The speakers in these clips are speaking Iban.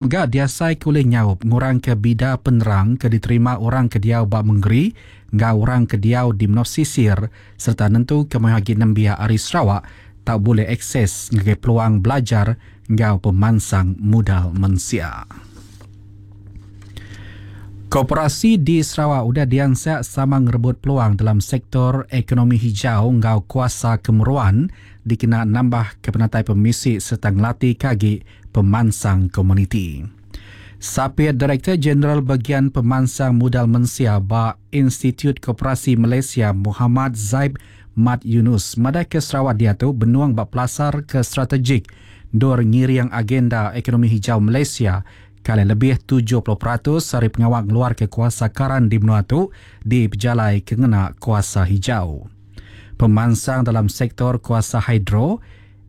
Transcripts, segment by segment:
Mega diasaika ulih nyaup ngurangka bida penerang ke diterima orang ke diau ba mengeri enggau orang ke diau di menua pesisir sereta nentuka mayuh agi nembiak ari Sarawak tau bulih akses ngagai peluang belajar enggau pemansang mudal mensia. Koperasi di Sarawak udah diansak sama ngerebut peluang dalam sektor ekonomi hijau enggau kuasa kemeruan dikena nambahka penatai pemisi sereta ngelatika agi pemansang komuniti. Sapit Direktor Jeneral Begian Pemansang Mudal Mensia ba Institut Koperasi Malaysia Mohamad Zaib Mat Yunus madahka Sarawak diatu benung ba pelasar ke strategik endur ngiring agenda ekonomi hijau Malaysia ke alai lebih 70% ari pengawa ngeluarka kuasa karan di menua tu dipejalaika ngena kuasa hijau. Pemansang dalam sektor kuasa hidro,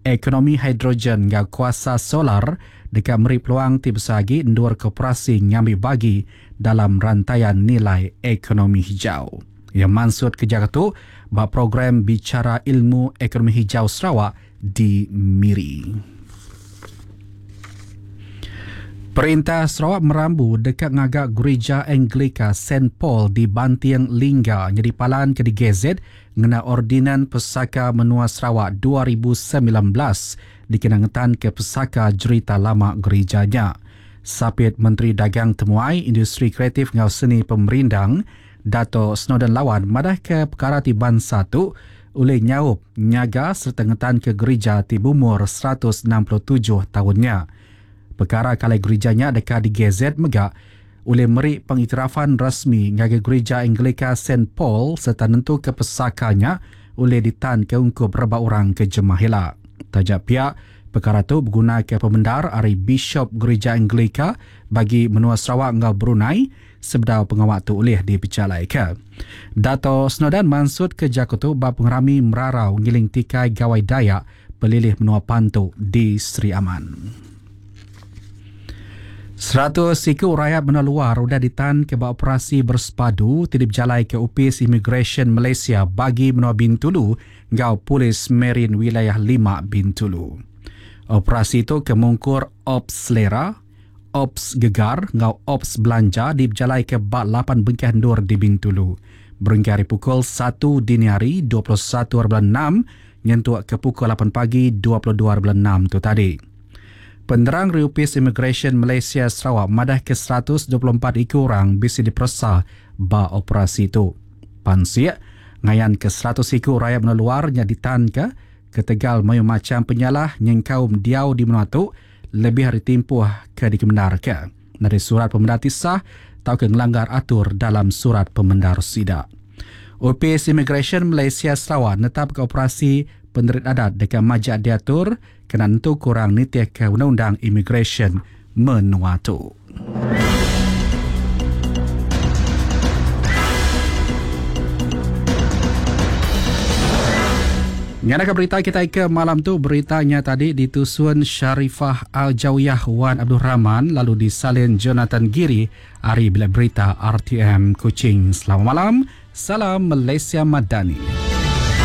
ekonomi hidrogen enggau kuasa solar deka meri peluang ti besai agi endur koperasi ngambi bagi dalam rantaian nilai ekonomi hijau. Iya mansutka jaku tu ba program Bicara Ilmu Ekonomi Hijau Sarawak di Miri. Perintah Sarawak merambu deka ngaga Gerija Anglika Saint Paul di Banting Lingga nyadi palan ke digazet ngena Ordinan Pesaka Menua Sarawak 2019 dikena ngetanka pesaka jerita lama gerija nya. Sapit Menteri Dagang Temuai, Industri Kreatif enggau Seni Pemerindang, Dato Snowdan Lawan madahka pekara ti bansa tu ulih nyaup nyaga sereta ngetanka gerija ti beumur 167 taun nya. Pekara ke alai gerija nya deka digazet mega ulih meri pengiktirafan rasmi ngagai Gerija Anglika Saint Paul sereta nentuka pesaka nya ulih ditanka ungkup rebak orang ke jemah ila. Taja pia, pekara tu begunaka pemendar ari Bishop Gerija Anglika bagi menua Sarawak enggau Brunei sebedau pengawa tu ulih dipejalaika. Dato Snowdan mansutka jaku tu ba pengerami merarau ngiling tikai Gawai Dayak Pelilih Menua Pantu di Sri Aman. 100 iku rayat menua luar udah ditanka ba operasi bersepadu ti dipejalaika Opis Imigresen Malaysia bagi menua Bintulu enggau Polis Marin Wilayah 5 Bintulu. Operasi tu ke mungkur Ops Selera, Ops Gegar enggau Ops Belanja dipejalaika ba 8 bengkah endur di Bintulu. Berengkah ari pukul 1 dini hari 21.06 nyentuk ke pukul 8 pagi 22.06 tu tadi. Penerang ari Opis Imigresen Malaysia Sarawak madahka 124 iku orang bisi diperesa ba operasi tu. Pansik ngayanka 100 iku rayat menua luar nya ditanka ketegal mayuh macham penyalah nyengkaum diau di menua tu lebih ari timpuh ke dikemendarka nadai surat pemendar ti sah tauka ngelanggar atur dalam surat pemendar sida. Opis Imigresen Malaysia Sarawak netapka operasi penerit adat deka majak diatur kena nentu kurang nitihka undang-undang imigresen menua tu. Nyadaka berita kitai ke malam tu, berita nya tadi ditusun Sharifah Al-Jawiyah Wan Abdul Rahman lalu disalin Jonathan Giri ari Bilik Berita RTM Kuching. Selamat malam, salam Malaysia Madani.